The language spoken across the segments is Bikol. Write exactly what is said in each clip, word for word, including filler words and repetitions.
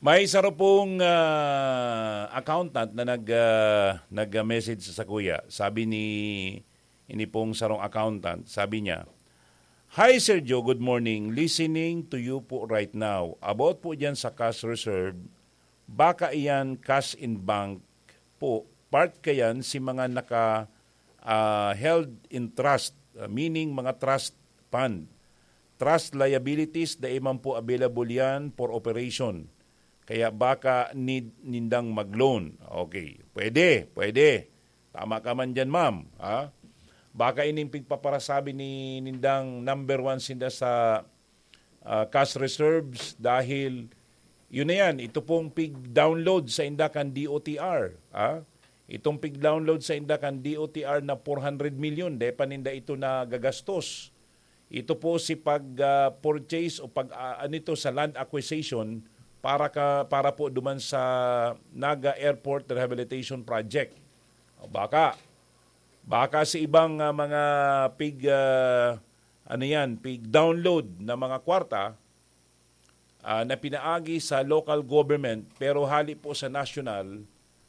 May saro pong, ah, accountant na nag, ah, nag-message sa kuya. Sabi ni, ini pong sarong accountant, sabi niya, "Hi, Sir Joe. Good morning. Listening to you po right now. About po diyan sa cash reserve, baka iyan cash in bank po. Part kayan si mga naka, ah, held in trust, ah, meaning mga trust fund. Trust liabilities, dai man po available yan for operation. Kaya baka need nindang mag-loan." Okay. Pwede, pwede. Tama ka man dyan, ma'am. Ha? Baka ining pigpaparasabi ni nindang number one sinda sa, ah, cash reserves dahil yun na yan, ito pong pig-download sa inda kan D O T R. Ha? Itong pig-download sa inda kan D O T R na four hundred million, dai pa ninda ito nagagastos. Ito po si pag, ah, purchase o pag, ah, ano ito, sa land acquisition para ka, para po duman sa Naga Airport Rehabilitation Project. O baka, baka sa ibang, ah, mga pig, ah, ano yan, pig-download na mga kwarta, ah, na pinaagi sa local government pero hali po sa national,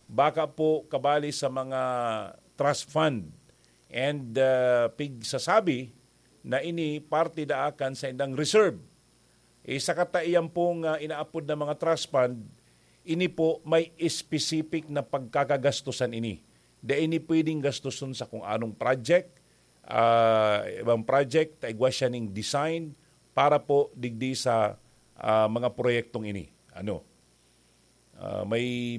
baka po kabali sa mga trust fund and, ah, pigsasabi na ini parte daakan sa indang reserve. Eh, sa kataiyan pong, ah, inaapod na mga trust fund, ini po may specific na pagkakagastusan ini. Dai ini pwedeng gastuson sa kung anong project, ah, ibang project, ta igwa siya ning design para po digdi sa, ah, mga proyektong ini. Ano? Ah, may